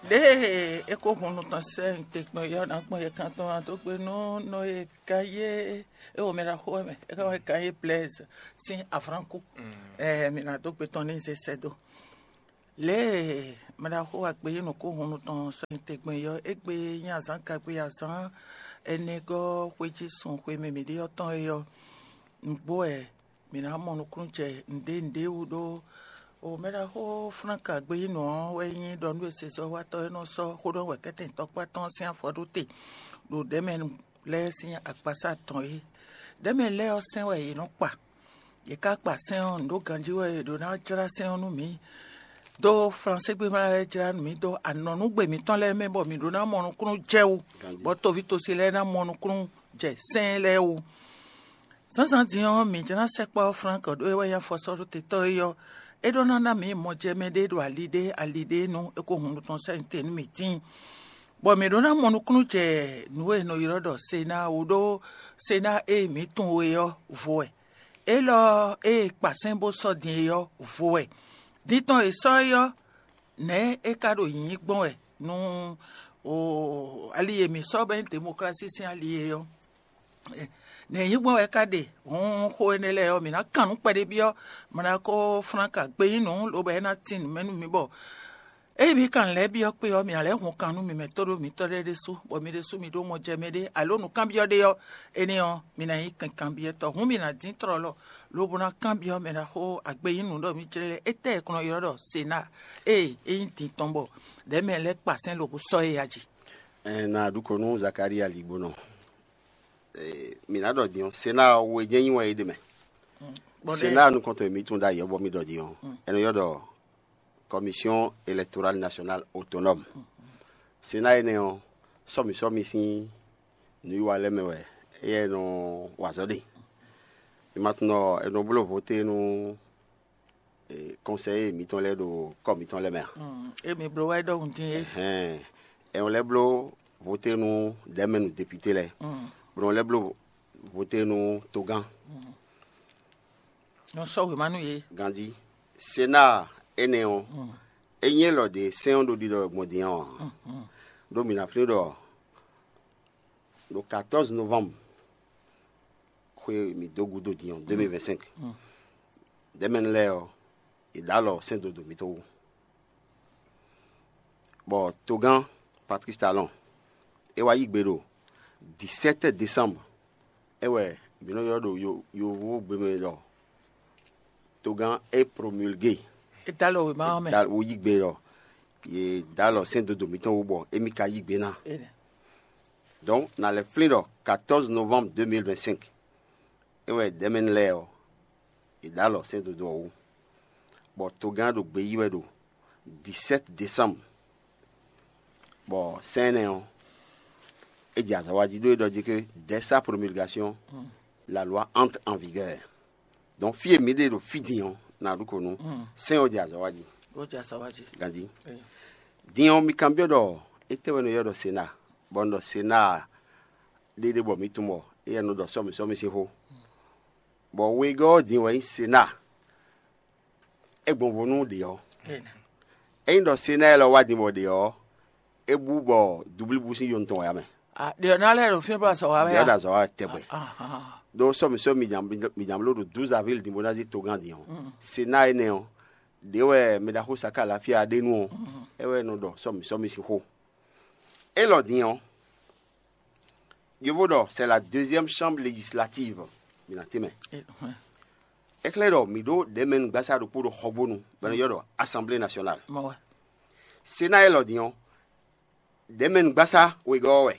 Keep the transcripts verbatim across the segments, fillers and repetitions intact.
Ɖěe é kó hun nú tɔn sɛ́ nyi te gbɔn yɔ́ ná gbɔn yɛ kan tɔn ná dó gbe nú nɔ e kan yé é wo mɛ ɖaxó wɛ mɛ é ká wɛ kan yé Blaise sín avranku. Ɛ mi ná dó gbe tɔn ní zé sɛ́ dó. Lě e mɛ ɖaxó wa gbe yí nǔkó hun nú tɔn sɛ́ nyi te gbɔn yɔ́ é gbe nyí azǎn kagbe azǎn ɛnɛ gɔ́ xwé jí sun xwe mɛ mǐ ɖe ɔ́ tɔn é ɔ́, nǔgbó wɛ mǐ ná mɔ nukúnnú jɛ nǔɖé nǔɖé wú ɖó. O mɛ ɖaxó Flánka gbeyínɔ ɔ́ wɛ nyí ɖɔ nú esezɔ́watɔ́ e nɔ sɔ́ xó ɖɔ wɛ kɛ́tɛ́ntɔ́kpá tɔn sín afɔ ɖó te ɖo ɖɛ̌mɛ lɛ́ɛ sín agbasá tɔn é. Ɖɛ̌mɛ lɛ́ɛ ɔ́ sɛn wɛ yě nɔ kpa. Yě ká kpa sɛ́n ɔ́, nǔ ɖó ganjí wɛ è ɖǒ ná jlá sɛ́n ɔ́ nú mǐ. Dó Flanségbe ma lɛ́ɛ jlá nú mǐ dó anɔ̌núgbe mǐtɔn lɛ́ɛ mɛ bɔ mǐ ɖó ná mɔ nukúnnú jɛ wú, bɔ tovítɔ́sí lɛ́ɛ ná mɔ nukúnnú jɛ sɛ́n lɛ́ɛ wú. Zǎnzǎn din ɔ́, mǐ jlá sɛkpɔ́ Flánk ɖó é wɛ nyí afɔsɔ́ɖótetɔ́ é ɔ́, é ɖó ná ná mǐ mɔjɛmɛ ɖé ɖo ali ɖé ali ɖé nú é ko hun nú tɔn sɛ́ nyi te nú mǐ tíin, bɔ mǐ ɖó ná mɔ nukúnnú jɛ nǔ e è nɔ ylɔ́ ɖɔ Sená wú ɖó Sená e mǐ tunwun é ɔ́ vo wɛ. Élɔ́ ée kpa sɛ́n bó sɔ́ din é ɔ́ vo wɛ. Din tɔn e sɔ́ é ɔ́, nɛ̌ é ka ɖo nyǐnyí gbɔn wɛ nú ali e mǐ sɔ́ bɔ é nyí demoklási sín ali é ɔ́? Nɛ̌ nyí gbɔn wɛ é ka ɖe? Hǔn xó énɛ́ lɛ́ɛ ɔ́, mǐ ná kan nǔ kpɛɖé byɔ́ mɔ ná kó flán ka gbeyín nǔ, lobo é ná tín nǔ mɛ nú mǐ bɔ ényí mǐ kan lɛ̌ byɔ́ kpé ɔ́, mǐ ná lɛ́ hun kan nú mǐ mɛ tó ɖó mǐtɔn lɛ́ɛ ɖésú, bɔ mi ɖésú mi ɖó mɔjɛmɛ ɖé alo nǔkanbyɔ́ ɖé ɔ́, énɛ́ ɔ́, mi ná nyí kanbyɔ́tɔ́. Hǔn mi ná dín tlɔlɔ, lobo ná kanbyɔ́ mɛ ná xó agbeyín nǔ ɖɔ mǐ jlɛ́ lɛ́ɛ. Étɛ́ è kɔn nɔ ylɔ́ ɖɔ Sená? Ée é nyí din tɔn bɔ ɖɛ̌ mɛ lɛ́ɛ kpa sɛ́n lobo sɔ́ é ya jí. Ɛn, na ɖu ko nú Zakalía ligbónɔ. Mǐ ná ɖɔ din ɔ́, Sená ɔ́, we jɛ́n nyi wɛ é ɖe mɛ. Sená nukɔntɔn e mǐ tunwun ɖ'ayǐ ɔ́, bɔ mì ɖɔ din ɔ́, è nɔ ylɔ́ ɖɔ Commission Électorale Nationale Autonome. Sená énɛ́ ɔ́, sɔ́mǐ sɔ́mǐ sín nǔwiwa lɛ́ɛ mɛ wɛ éyɛ́ nɔ wa azɔ̌ ɖe. Mi ma tunwun ɖɔ è nɔ bló voté nú kɔnsɛyé mǐtɔn lɛ́ɛ ɖo kɔ́ mǐtɔn lɛ́ɛ mɛ a? Emi bló wɛ ɖɔhun dín é. Hɛn, è nɔ lɛ́ bló voté nú ɖɛ̌mɛnu député lɛ́ɛ, bó nɔ lɛ́ bló voté nú togán. Nɔ sɔ́ wěma nú yě. Ganjí, Sená énɛ́ ɔ́, é nyí élɔ́ ɖě sɛ́n ɔ́ ɖo ɖiɖɔ gbɔn din ɔ́ ǎ. Ɖó mǐ ná flín ɖɔ ɖo quatorze novembre xwe mǐ dó gúdo din ɔ́, deux mille vingt-cinq, ɖɛ̌mɛnu lɛ́ɛ ɔ́, è ɖǒ alɔ sɛ́n dó dǒ mǐtɔn wú. Bɔ togán Patrice Talon é wá yí gbe ɖo dix-sept décembre, é wɛ mǐ nɔ ylɔ́ ɖo yo- yovógbe mɛ ɖɔ togán é promulgué. É dó alɔ wěma ɔ́ mɛ. Wo yí gbe ɖɔ yě dó alɔ sɛ́n dó dǒ mǐtɔn wú bɔ émí ka yí gbe ná. Énɛ́. Donc, na lɛ́ flín ɖɔ quatorze novembre deux mille vingt-cinq, é wɛ ɖɛ̌mɛnu lɛ́ɛ ɔ́, è ɖǒ alɔ sɛ́n dodó ɔ́ wú, bɔ togán ɖo gbe yí wɛ ɖo dix-sept décembre, bɔ sɛ́n énɛ́ ɔ́, é jɛ azɔ̌ wa jí ɖó é ɖɔ jí que dès sa promulgation, la loi entre en vigueur. Donc, fí e mǐ ɖe ɖo fí din ɔ́, na ɖu ko nú sɛ́n ɔ́ jɛ azɔ̌ wa jí. Ó jɛ azɔ̌ wa jí. Ganjí. Din ɔ́, mi kanbyɔ́ ɖɔ étɛ́ wɛ nɔ ylɔ́ ɖɔ Sená, bɔ un ɖɔ Sená ɖéɖé bɔ mǐ tunwun bɔ éyɛ́ nɔ ɖɔ sɔ́mi sɔ́mi sín xó. Bɔ wegɔ́ ɔ́ din wɛ nyí Sená. É gbɔn vo nú ɖě ɔ́. Ényí ɖɔ Sená élɔ́ wá din bɔ ɖě ɔ́, é bú bɔ dublíbú sín yonu tɔn wɛ ǎ mɛ. Ɖě ɔ́ ná lɛ́ ɖo fí bɔ azɔ̌ wa wɛ Ɖě ɔ́ ɖo azɔ̌ wa tɛgbɛ. Ɖó sɔ́mi sɔ́mi mi jǎn bló ɖo douze avril din bó ná zí togán din ɔ́, Sená énɛ́ ɔ́, ɖě wɛ mɛ ɖaxó Saká Lafia ɖe nú ɔ́, é wɛ nɔ ɖɔ sɔ́mi sɔ́mi sín xó. Élɔ́ din ɔ́, Yovo ɖɔ c'est la deuxième chambre législative. Mi na tɛ́nmɛ. É xlɛ́ ɖɔ mǐ ɖó ɖɛ̌mɛnugbasá ɖokpó ɖo Xɔgbónu, bɔ è nɔ ylɔ́ ɖɔ Assemblée nationale. Mɔ wɛ. Sená élɔ́ din ɔ́, ɖɛ̌mɛnugbasá wegɔ́ ɔ́ wɛ.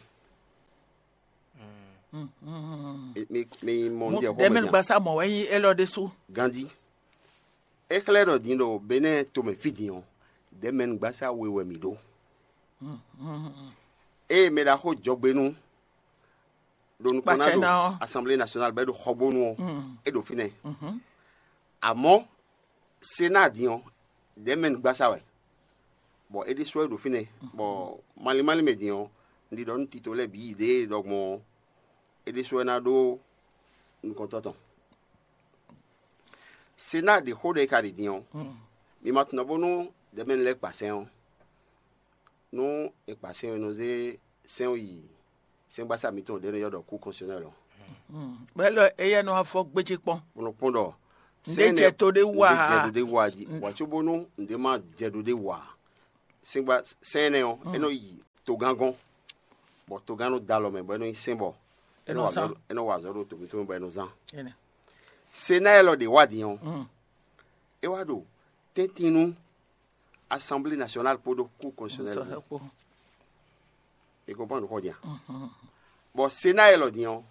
Mi mi mɔ un ɖe xó mɛ din a? Ɖɛ̌mɛnugbasá mɔ wɛ nyí élɔ́ ɖésú. Ganjí. É xlɛ́ ɖɔ din ɖo Benɛ́ɛ tomɛ fí din ɔ́, ɖɛ̌mɛnugbasá we wɛ mǐ ɖó. Ée mɛ ɖaxó jɔgbenú ɖo nukɔn ná ɖo Assemblée nationale bɔ é ɖo Xɔgbónu ɔ́, é ɖo fínɛ́. Amɔ̌ Sená din ɔ́, ɖɛ̌mɛnugbasá wɛ, bɔ é ɖésú wɛ ɖo fínɛ́, bɔ malín málín mɛ din ɔ́, un ɖi ɖɔ nú tito lɛ́ɛ bǐ ɖěe ɖɔ gbɔn ɔ́, é ɖésú wɛ ná ɖó nukɔntɔ́ tɔn. Sená ɖě xó ɖɔ é ka ɖi din ɔ́, mi ma tunwun bónú ɖɛ̌mɛnu lɛ́ɛ kpa sɛ́n ɔ́, Nú è kpa sɛ́n e nɔ zé sɛ́n yi sɛ́ngbasá mǐtɔn ɖě nɔ ylɔ́ ɖɔ kú kɔnsɔnɛ́l ɔ́, bɔ é lɔ éyɛ́ nɔ afɔ gbéjé kpɔ́n. Bó nɔ kpɔ́n ɖɔ Nǔɖé sɛ́n jɛ to ɖé wú nǔɖé jɛ ǎ. Ɖo ɖé wú ǎ jí, wǎ cóbónú nǔɖé má jɛ ɖo ɖé wú ǎ. Sɛ́ngba sɛ́n énɛ́ ɔ́, é nɔ yi togán gɔ́n, bɔ togán nɔ da alɔ mɛ, bɔ é nɔ nyí sɛ́n bɔ é nɔ wa azɔ̌, é nɔ wa azɔ̌ ɖo to mǐtɔn mɛ bɔ é nɔ zán. Senáyɛ́l ɔ́ ɖě wá din ɔ́, é wá ɖo tɛ́ntin nú Assemblée nationale kpódó Cour constitutionnelle kpó. E kɔn pɔn nukɔn din a? Bɔ Senáyɛ́l ɔ́ din ɔ́,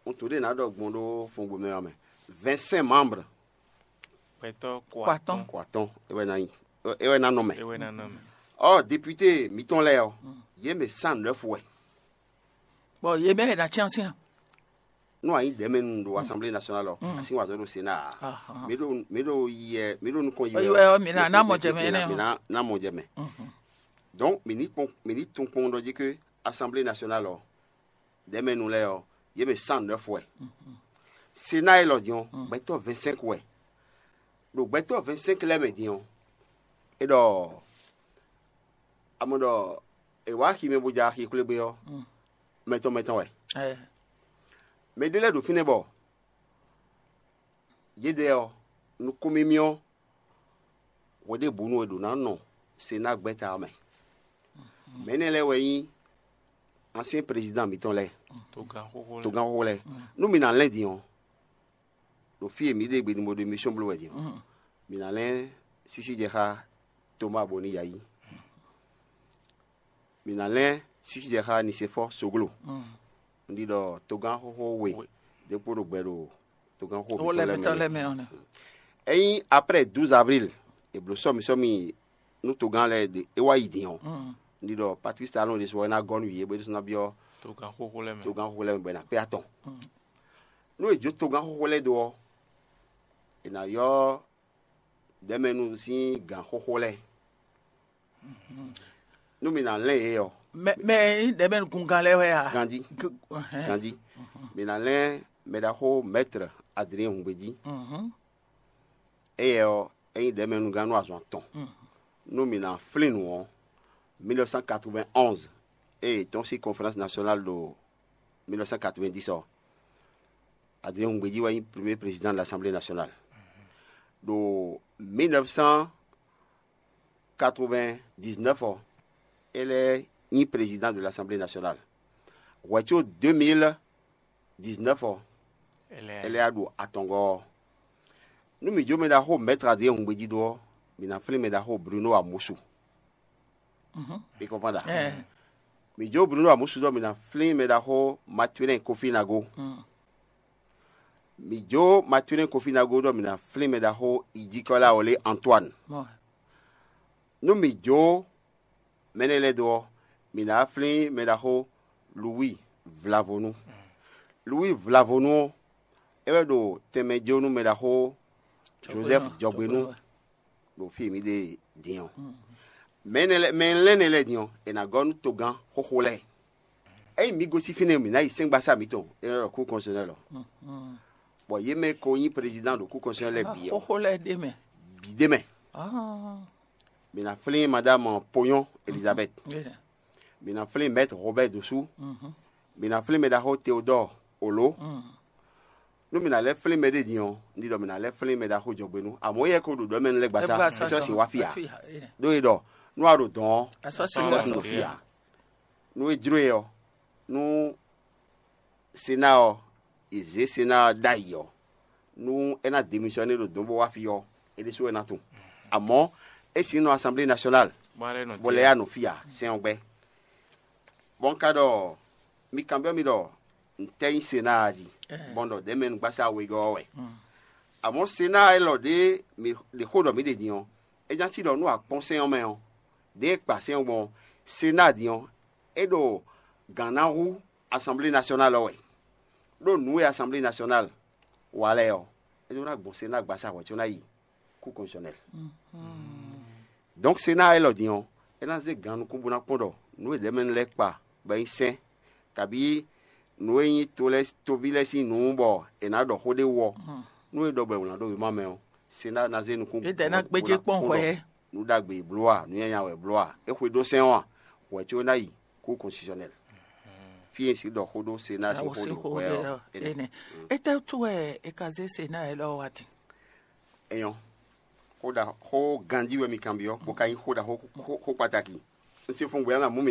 un to ɖé ná ɖɔ gbɔn ɖó fɔngbó mɛ ɔ́ mɛ. Vingt-cinq membres. Gbɛtɔ́ Kó atɔ́n. Kó atɔ́n é wɛ ná nyi, é wɛ ná nɔ mɛ. É wɛ ná nɔ mɛ. Ɔ député mǐtɔn lɛ́ɛ ɔ́, yě mɛ cent neuf wɛ. Bɔ yě mɛ ná cyán cyán. Nú a nyí ɖɛ̌mɛnu ɖo Assemblée nationale ɔ́, a sín wǎ zɔ́ ɖo Sénat ǎ. Mǐ ɖo mǐ ɖo yi wɛ mǐ ɖo nukɔn yi wɛ. Ɔ́, mǐ ná mɔ jɛ mɛ énɛ́ ɔ́. Mǐ ná mɔ jɛ mɛ. Donc mǐ ní kpɔn mǐ ní tunwun kpɔn ɖɔ jí ké Assemblée nationale ɔ́, ɖɛ̌mɛnu lɛ́ɛ ɔ́, yě mɛ cent neuf wɛ. Sénat élɔ́ din ɔ́, gbɛtɔ́ vingt-cinq wɛ. Ɖo gbɛtɔ́ vingt-cinq lɛ́ɛ mɛ din ɔ́, é ɖɔ a mɔ ɖɔ è wǎ axi mɛ bó ja axi xwlé gbé ɔ́, mɛtɔn mɛtɔn wɛ. Mɛ ɖé lɛ́ɛ ɖo fínɛ́ bɔ yědɛɛ ɔ́, nukúnmimí ɔ́, hweɖěbǔnu è ɖǒ ná nɔ Senáa gbɛ́ta ɔ́ mɛ. Mɛ̌ nɛ́ lɛ́ɛ wɛ nyí asyɛ́n prezidán mǐtɔn lɛ́ɛ, Togán xóxó lɛ́ɛ. Togán xóxó lɛ́ɛ. Nú mi ná lɛ́n din ɔ́, ɖo fí e mǐ ɖe gbe ní bó ɖo émission bló wɛ din ɔ́, mǐ ná lɛ́n sísí jɛ xá Tomáa bó ní yayí. Mǐ ná lɛ́n sísí jɛ xá Nisefɔ́ɔ Soglo. Un ɖi ɖɔ togán xóxó we ɖěkpó ɖo gbɛ ɖo togán xóxó mǐtɔn lɛ́ɛ mɛ. Ényí après douze avril, è blǒ sɔ́mi sɔ́mi nú togán lɛ́ɛ ɖe é wá yi din ɔ́, un ɖi ɖɔ Patrice Talon ɖésú ɔ́ é ná gɔ́ nú yě bó é ɖésú ná byɔ́ togán xóxó lɛ́ɛ mɛ bɔ é ná kpé atɔn. Nú è jó togán xóxó lɛ́ɛ dó ɔ́, è nǎ ylɔ́ ɖɛ̌mɛnu sín gǎn xóxó lɛ́ɛ. Nú mi ná lɛ́n yě ɔ́, mɛ mɛ e nyí ɖɛ̌mɛnu gungán lɛ́ɛ wɛ a? Ganjí. Ganjí. Mi ná lɛ́n mɛɖaxó Maître Adrien Hungbejí. Éyɛ́ ɔ́, é nyí ɖɛ̌mɛnugán nú azɔn atɔn. Nú mi ná flín nǔ ɔ́, mille neuf cent quatre-vingt-onze, ée è tɔ́n sín conférence nationale ɖo mille neuf cent quatre-vingt-dix ɔ́, Adrien Hungbejí wɛ nyí premier président de l'Assemblée nationale. Ɖo mille neuf cent quatre-vingt-dix-neuf ɔ́, é lɛ́ nyí président de l'Assemblée nationale. Hwɛ̌ có deux mille dix-neuf ɔ́, é lɛ́ wá ɖo atɔngɔ́ ɔ́. Nú mǐ jó mɛ ɖaxó Maître Adrien Hungbejí dó ɔ́, mǐ ná flín mɛ ɖaxó Bruno Amusu. Mi kɔnfán ɖa? Mǐ jó Bruno Amusu dó ɔ́, mǐ ná flín mɛ ɖaxó Mathurin Kofi Nago. Mǐ jó Mathurin Kofi Nago dó ɔ́, mǐ ná flín mɛ ɖaxó Idikɔ́la Olé Antoine. Nú mǐ jó mɛ énɛ́ lɛ́ɛ dó ɔ́, mǐ ná flín mɛ ɖaxó Louis Vlavonu. Louis Vlavonu ɔ́, é wɛ ɖo tɛnmɛ jó nú mɛ ɖaxó Joseph Jɔgbénu ɖo fí e mǐ ɖe din ɔ́. Mɛ énɛ́ lɛ́ɛ mɛ lɛ́nɛ lɛ́ɛ din ɔ́, è nǎ gɔ́ nú togán xóxó lɛ́ɛ. Ényí mǐ gosín fínɛ́, mǐ ná yi sɛ́ngbasá mǐtɔn, é nɔ ɖɔ kú kɔnsɔnɛ́l ɔ́. Bɔ yě mɛ ko nyí prezidán ɖo kú kɔnsɔnɛ́l lɛ́ɛ bǐ ɔ́, xóxó lɛ́ɛ ɖ'é mɛ. Bǐ ɖ'é mɛ. Mǐ ná flín maɖámu Poyɔ́n Elizabeth. Mǐ ná flín Maître Robert Dosu. Mǐ ná flín mɛ ɖaxó Théodore Olo. Nú mǐ ná lɛ́ flín mɛ ɖé din ɔ́, un ɖi ɖɔ mǐ ná lɛ́ flín mɛ ɖaxó Jɔgbénu. Amɔ̌ éyɛ́ ko ɖo ɖɔ mɛ lɛ́ gbasá, é sɔ́ sin wá fí ǎ. Ɖó é ɖɔ nú a ɖo dɔ̌n ɔ́, é sɔ́ sin ɖo fí ǎ. Nú é jló e ɔ́, nú Senáa ɔ́, è zě Senáa ɔ́ ɖ'ayǐ ɔ́, nú é ná demisɔ́né ɖo dɔ̌n bó wá fí ɔ́, é ɖésú wɛ ná tunwun. Amɔ̌, é sin nɔ Assemblée nationale, bɔ lɛ́ yá nɔ fí ǎ, sɛn ɔ́ gbɛ́. Bɔ un ka ɖɔ mi kanbyɔ́ mì ɖɔ ntɛ́ nyí Senáa jí, bɔ un ɖɔ ɖɛ̌mɛnugbasá wegɔ́ ɔ́ wɛ. Amɔ̌ Senáa élɔ́ ɖě mǐ ɖe xó ɖɔ mǐ ɖe din ɔ́, é ná cí ɖɔ nú a kpɔ́n sɛ́n ɔ́ mɛ ɔ́, ɖěe è kpa sɛ́n ɔ́ gbɔn ɔ́, Senáa din ɔ́, é ɖo gǎn ná hú Assemblée nationale ɔ́ wɛ. Ɖó nǔ e Assemblée nationale wa lɛ́ɛ ɔ́, é ɖó ná gbɔn Senáa gbasá hwɛ̌ có ná yi kú constitutionnel. Donc Senáa élɔ́ din ɔ́, é ná zé gǎn nukún bó ná kpɔ́n ɖɔ nǔ e ɖɛ̌mɛnu lɛ́ɛ kpa bɔ é nyí sɛ́n, kabǐ nǔ e nyí to lɛ́ɛ toví lɛ́ɛ sín nǔ bɔ è nǎ ɖɔ xó ɖé wú ɔ́, nú é ɖɔ bɔ è wlǎn ɖó wěma mɛ ɔ́, Senáa ná zé nukún. Édɛɛ ná gbéjé kpɔ́n hwɛ. nǔ ɖagbe e bló a, nǔ nyanya wɛ e bló a, é xwedó sɛ́n ɔ́ a, wɛ có ná yi kú kɔnsitisiɔnɛl. Fí e un sixú ɖɔ xó ɖó Senáa sín xó ɖě wɛ ɔ́, énɛ́. Énɛ́. Étɛ́ wútu wɛ è ka zé Senáa élɔ́ wá din? É nyɔ́. Xó ɖa xó ganjí wɛ mi kanbyɔ́, bó ka nyí xó ɖa xó kpataki. Un se fun gbɛ̌ ná mú